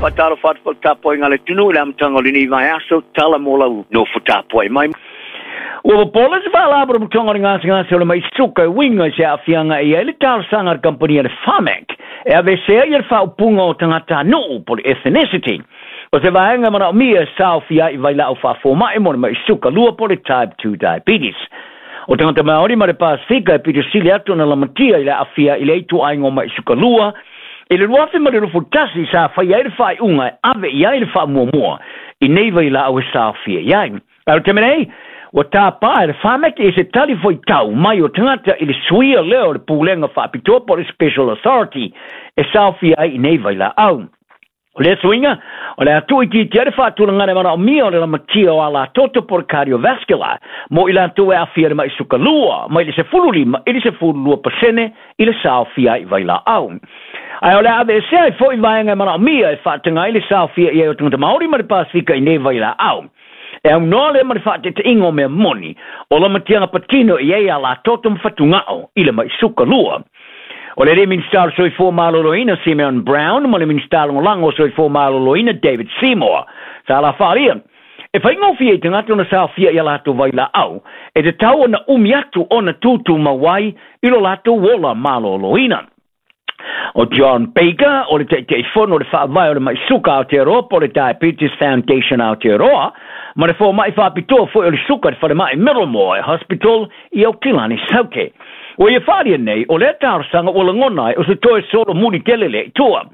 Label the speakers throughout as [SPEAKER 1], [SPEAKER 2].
[SPEAKER 1] Faatalofa atu foi i le tapuaiga a le atunuu i le amataga o lenei vaiaso, tala mo lau nofo tapuai mai. Ua popola se Faalapotopotoga o le Gasegase o le Mai Suka e uiga i se aafiaga e i ai le talosaga a le kamupani a le Pharmac e aveesea ai le faaupuga o tagatanuu po o le ethnicity o se vaega e manaomia e saofia ai i vailaau faafomai mo le mai suka lua po o le type 2 diabetes. O tagata Maori ma le Pasifika e pito sili atu ona lamatia i le aafia i lea ituaiga o mai suka lua i le 2021 sa faia ai le faaiuga e ave i ai le faamuamua i nei vailaau e saofia i ai. A o le taimi nei, ua tapa e le Pharmac i se tali fuaitau mai o tagata i le suia lea o le Pulega Faapitoa po o le Special Authority e saofia ai i nei vailaau. O lea suiga, o le a tuuitiitia ai le faatulagaga e manaomia o le lamatia o alatoto po o le cardiovascular mo i latou e aafia i le mai suka lua mai le 15 i le 12% i le saofia ai i vailaau. Ae o le a aveesea ai foi vaega e manaomia e faataga ai le saofia i ai o tagata Māori ma le Pasefika i nei vailaau. E aunoa lea ma le faateteʻiga o mea moni o lamatiaga patino i ai alatoto ma fatugao i le mai suka lua. O le alii Minisita o le Soifua Maloloina Simeon Brown ma le Minisita Lagolago o Soifua Maloloina David Seymour sa la faaalia e faigofie i tagata ona saofia i a latou vailaau e tatau ona umi atu ona tutumau ai i lo latou ola maloloina. O John Baker, o le Taitaifono o le Faavae o le Mai Suka Aotearoa po o le Diabetes Foundation Aotearoa, ma le fomai faapitoa foi o le suka i le falemai Middlemore Hospital i Aukilani Saute. Ua ia faaalia nei, o lea talosaga ua lagona ai o se toe solomuli tele lea i tua.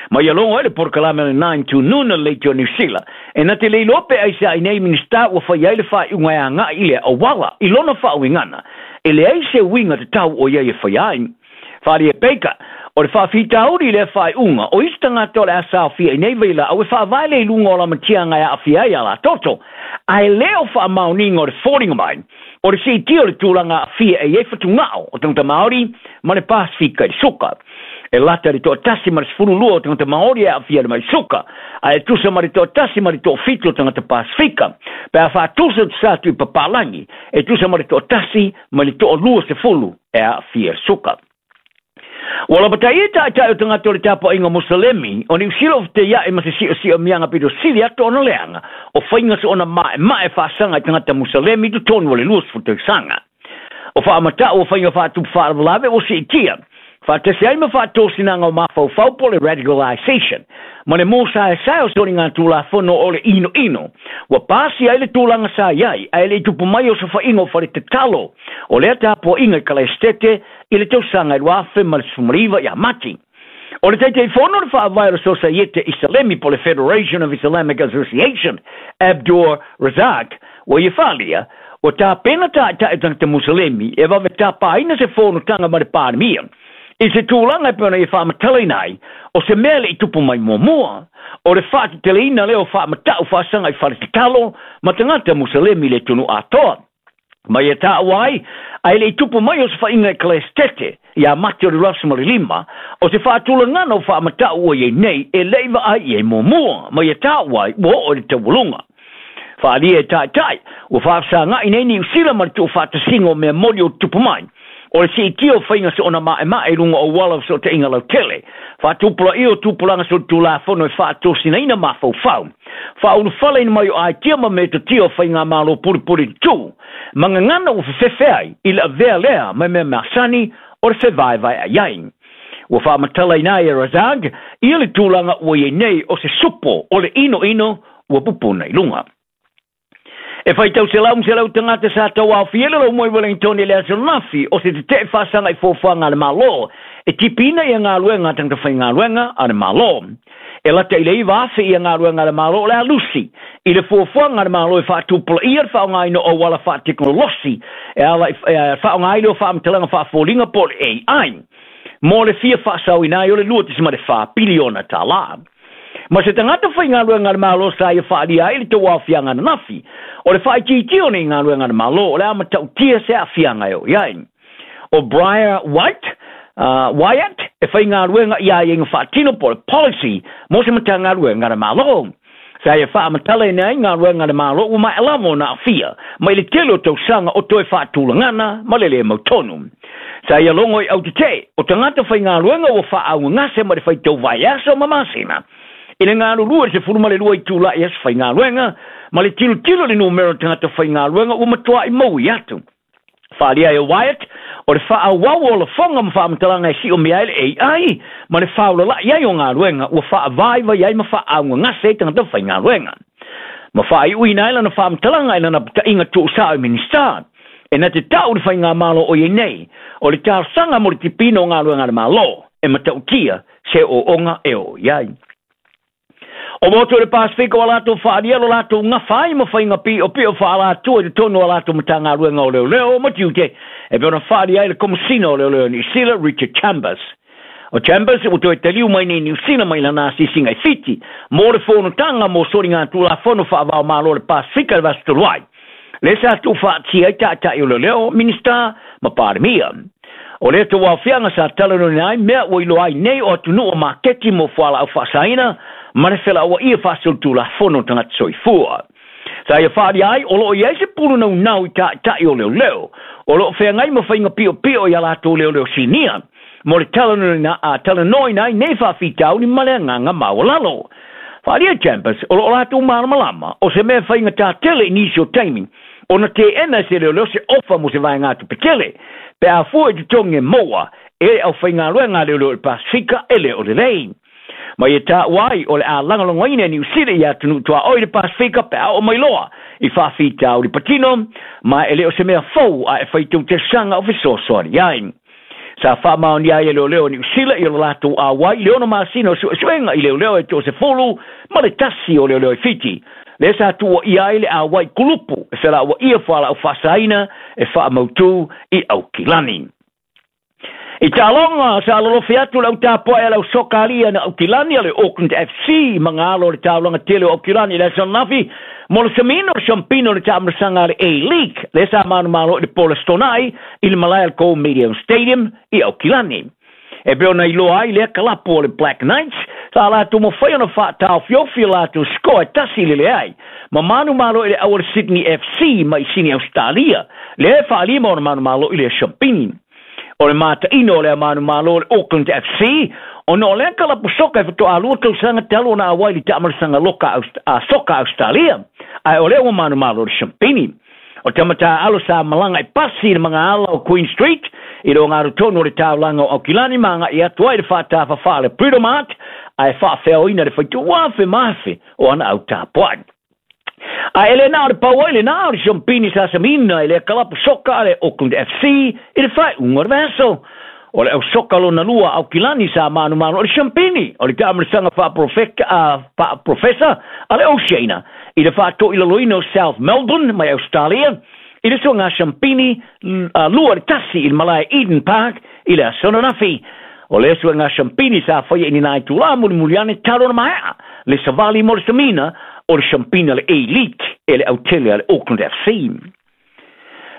[SPEAKER 1] Ma ia logo ai le polokalame o le Nine to Noon a le Leitio Niu Sila, e na te le iloa pe aisea i nei Minisita ua fai ai le faaiuga e agai i lea auala i lona faauigaga, e leai se uiga tatau o ia e faia ai. Wharia Baker, o le faafitauli i lea faaiuga, o isi tagata o le a saofia i nei vailaau e faavae le iluga o lamatiaga e aafia ai a latoto, ae le o faamaoniga o le foliga mai o le siitia o le tulaga aafia e i ai fatugao o tagata Māori ma le Pasefika i le suka. E lata i le toatasi ma le 12 o tagata Māori e aafia i le mai suka, ae tusa ma le toatasi ma le toafitu o tagata Pasefika. Pe a faatusa tusa atu i papalagi, e tusa ma le toatasi ma le toalua sefulu e aafia i le suka. Ua lapataia taitai o tagata o le tapuaiga Musalemi o Niu Sila o feteiaʻi ma se siosiomia pito sili atu ona leaga o faiga soona maemae faasaga i tagata Musalemi i totonu o le 20 tausaga. O faamatau o faiga faatupu faalavelave ua siitia faatasi ai ma faatosinaga o mafaufau po o le radicalization ma le mōsaesae o soligatulafono o le inoino ua pasia ai le tulaga sa i ai ae le i tupu mai o sofaiga o fale tatalo o lea tapuaiga i Kalaesetete i le tausaga e 2019 ia Mati. O le Taitaifono o le Faavae o le Sosaiete Isalemi po o le Federation of Islamic Association, Abdur Razak, ua ia faaalia, ua tapena taitai o tagata Musalemi e vave tapaina se fonotaga ma le Palemia i se tulaga e pei ona ia faamatalaina ai o se mea e le i tupu mai muamua, o le faateteleina lea o faamatau faasaga i fale tatalo ma tagata Musalemi i le atunuu atoa. Ma ia taua ai, ae le i tupu mai o se faiga Ekalesetete ia Mati o le 25, o se faatulagana o faamatau ua i ai nei e le i vaai i ai muamua, ma ia taua ai ua oo i le taualuga. Faaalia e taitai, ua faafesagai nei Niu Sila ma le tuufaatasiga o mea moni o tupu mai, o le siitia o faiga soona maemae i luga o auala o fesootaiga lautele, faatupulaia o tupulaga solitulafono e faatosinaina mafaufau, faaulufaleina mai o aitia ma metotia o faigamalo pulipuli tutū, ma gagana ua fefefe ai i le avea lea ma mea masani o le fevaevaeai ai. Ua faamatalaina ai e Razak ia le tulaga ua i ai nei o se supo o le inoino ua pupuna i luga. E faitau selau ma selau tagata sa tauaofia i le Laumoi Wellington i le aso Nafi o se tetee faasaga i fuafuaga a le Malo e tipiina ia galuega a tagata faigaluega a le Malo. E lata i le 9,000 ia galuega a le Malo o le a lusi i le fuafuaga a le Malo e faatupulaia le faaaogaina o auala faatekonolosi e ala i e faaaoga ai lea o faamatalaga faafoliga po o le AI mo le fia faasaoina ai o le $2.4 piliona tālā. Ma se tagata faigaluega a le Malo sa ia faaalia ai le tauaofiaga ananafi, o le faaitiitia o nei galuega a le Malo o le a matautia se aafiaga e oo i ai. O Briar White, Wyatt, e faigaluega i aiaiga faatino po o le policy mo se Matagaluega a le Malo. Sa ia faamatalaina ai galuega a le Malo ua maea lava ona aafia mai le tele o tausaga o toe faatulagana ma le le mautonu. Sa ia logo i autetee o tagata faigaluega ua faaaugagase ma le faitau vaiaso ma masina. I le galulue i le 12 itula i aso faigaluega, ma le tilotilo i le numera o tagata faigaluega ua matuai maui atu. Faaalia ai e Wyatt, o le faaauau o lafoga ma faamatalaga e siomia ai le AI ma le faolalai ai o galuega ua faavaivai ai ma faaaaugagase ai tagata faigaluega. Ma faaiuina ai lana faamatalaga i lana putaiga tuusao i Minisita. E na te tau le faigamalo o iai nei, o le talosaga mo le tipiina o galuega a le Malo, e matautia se ooooga e oo i ai. O motu o le Pasefika ua latou faaalia lo latou gafa ai ma faiga piopio faaalatua i totonu o a latou Matagaluega o Leoleo ma Tiute, e pei ona faaalia ai le Komesina o Leoleo o Niu Sila, Richard Chambers. O Chambers ua toe taliu mai nei i Niu Sila mai lana asiasiga i Fiti mo le fonotaga mo soligatulafono faava-o-Malo o le Pasefika i le vaiaso talu ai, lea sa tuufaatia ai taitai o leoleo, Minisita ma Palemia. O lea tauaofiaga sa talanoaina ai mea ua iloa ai nei o atunuu o maketi mo fualaau faasaina ma le felauaia faasolitulafono o tagata soifua. Sa ia faaalia ai o lo o i ai se pulu naunau i taitai o leoleo o lo o feagai ma faiga piopio i a latou leoleo sinia mo le talanoaina ai nei faafitauli ma le agaga maualalo. Faaalia Chambers o lo o latou malamalama o se mea faigata tele i nisi o taimi ona teena e se leoleo se ofa mo se vaegatupe tele pe a fua i totogi e maua e le aufaigaluega a leoleo i le Pasefika e le o lelei. Ma ia taua ai o le a lagolagoina e Niu Sila i atunuu tuaoi i le Pasefika pe a oo mai loa i faafitauli patino, ma e le o se mea fou a e faitau tausaga o fesoasoani ai. Sa faamaonia ai e leoleo o Niu Sila i lo latou auai i le 6 masina o suesuega i leoleo e 11 o leoleo i Fiti, lea sa tuuaia ai le auai kulupu e felauaia fualaau faasaina e faamautu i Aukilani. I taaloga, sa lolofi atu le au tapuai a le au soka alii na Aukilani a le Auckland FC ma galo o le taulaga tele o Aukilani i le aso ananafi mo le samiina o le siampina o le taamilosaga a le A-League, lea sa manumalo i le po o le Aso Toonai i le malae a le Go Medium Stadium i Aukilani. E pei ona iloa ai lea kalapu o le Black Knights, sa latou mafai ona faataofiofi o latou score e 1-0, ma manumalo i le au o le Sydney FC mai Sini Ausetalia, lea e faalima ona manumalo i le siampini. O le mataino o lea manumalo o le Auckland FC, ona o lea kalapu soka e faatoa 2 tausaga talu ona auai i le taamilosaga loka soka Ausetalia, ae o lea ua manumalo i le siampini. O Tamatā-alo sa malaga i pasi i le magaala o Queen Street i le ogatotonu o le taulaga o Aukilani ma agai atu ai i le faatafafa a le Britomart ae faafeaoina le faituafe ma afe o ana au tapuai. Ae e le na o le pau ai lena o le siampini sa samina i lea kalapu soka a le Auckland FC i le faaiuga o le vaiaso. O le au soka lona lua a Aukilani sa manumanu o le siampini o le taamilosaga faaprofesa a le Oceania i le faatoilaloina o South Melbourne mai Australia i le suaga siampini 2-1 i le malae Eden Park i le aso ananafi. O lea suega siampini sa faia i ni nai itulā mulimuli ane talu ona maea le savali mo le samina o le siampini a le A-League e le autele a le Auckland FC.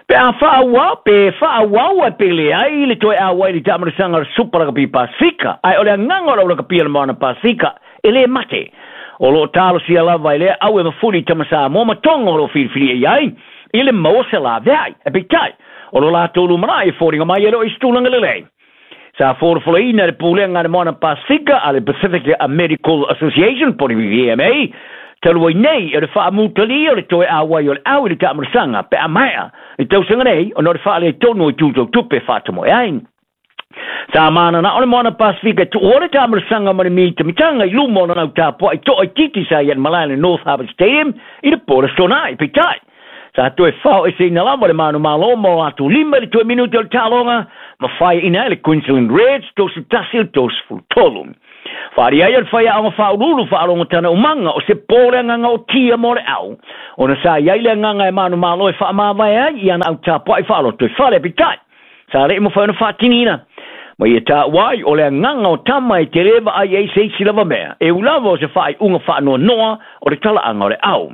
[SPEAKER 1] Pe a faaauau, pe faaauau ai pe leai le toe auai i le taamilosaga o le Supa Lakapi Pasefika, ae o le agaga o le au lakapi a le Moana Pasefika e le mate. O lo o talosia lava e lea au e mafuli i tama Samoa ma Tonga o lo o filifilia i ai i le maua se laveai. Ae peitai, o lo latou lumanai e foliga mai e le o i se tulaga lelei. Sa folafolaina e le Pulega a le Moana Pasefika a le Pacific Medical Association po o le PMA, talu ai nei o le faamutalia o le toe auai o le au i le taamilosaga pe a maea i tausaga nei ona o le faaletonu o itu tau tupe faatamoe ai. Sa mananao le Moana Pasefika e tuua le taamilosaga ma le mitamitaga i luma o lana au tapuai toaitiiti sa i ai i le malae o le North Harbour Stadium i le po o le Aso Toonai. Peitai, sa toe faoeseina lava le manumalo ma o latou lima i le toe minute o le taaloga ma faiaina ai le Queensland Reds 31 i le 33. Faaalia ai o le faiaoga faauluulu faalogotana umaga o se po le agaga o tia mo le au, ona sa i ai le agaga e manumalo e faamavae ai i ana au tapuai faaloto i fale. Peitai, sa le i mafai ona faatiniina. Ma ia taua ai o le agaga o tama e tele vaai ai se isi lava mea, e ui lava o se faaiuga faanoanoa o le talaaga o le au.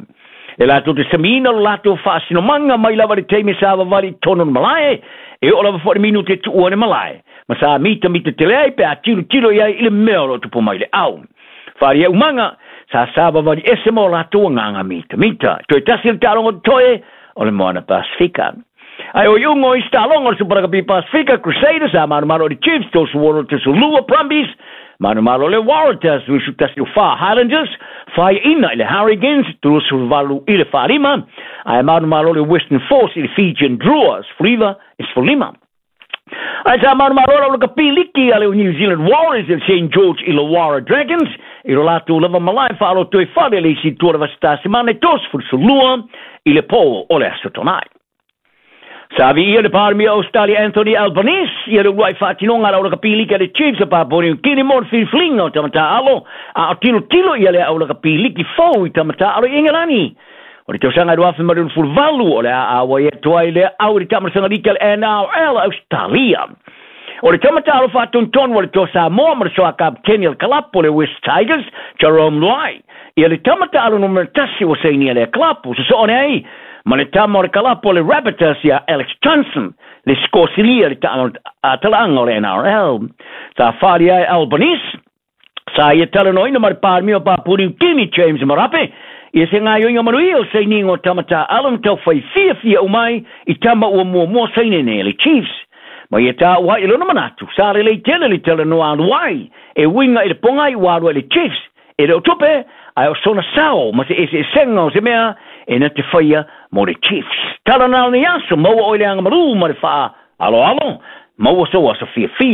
[SPEAKER 1] E latou te samiina lo latou faasinomaga mai lava i le taimi sa vavali i totonu o le malae, e oo lava foi i le minute e tuua ai le malae, ma sa mitamita tele ai pe a tilotilo i ai i le mea o lo o tupu mai i le au. Faaalia umaga, sa savavali ese ma o latou agaga mitamita. Toe tasi le taaloga totoe o le Moana Pasefika. Ae o iuga o isi taaloga o le Super Rugby Pasefika, Crusaders sa manumanu i le Chiefs, 36-32 Brumbies, Manumalo le Waratahs 21-4, Highlanders faiaina i le Hurricanes 38-5, ae manumalo le Western Force i le Fijian Drua 19-15. Ae sa manumalo la ula kapiliki a le New Zealand Warriors i le St George Illawarra Dragons i lo latou lava malae fa'alotoifale le isi tua le vasitasimana e 32 i le pō o le aso Tona'i. Sa viia le Palemia o Australia Anthony Albanese ia le uluai faatinoga a le aulakapiliki a le Chiefs o Papua New Guinea mo le filifiliga o tamatā alo, a o tilotilo ia le aulakapiliki fou i tamatā alo i Ingelani. O le tausaga e 2028 o le a auai atu ai lea au i le taamalosaga liki a le NRL Australia. O le tamatā alo faatonutonu o le Toa Samoa ma le soa kapiteni o le kalapo le West Tigers, Jarome Luai, ia le tamatā alo numera 1 ua sainia lea kalapo, sosoo nei ma le tama o le kalapo le Rabbitohs ia Alex Johnson, le sikosilia le talaaga o le NRL. Sa fali ai Albanese, sa ia talanoaina ma le Palemia o Papua Niu Kini James Marape, ia se gaioiga manuia o sainiga o tamatā alo ma taufai fiafia umai i tama ua muamua saine nei le Chiefs. Ma ia tāua ai i lona manatu, sa lelei tele le talanoa alu ai, e uiga i le pogai ua alu ai le Chiefs, e le o tupe, ae o sona sao ma se eseesega o se mea e na te faia mo le Chiefs. Tala na o ni aso, maua o i le agamalū ma le faaaloalo, maua sou aso fiafia.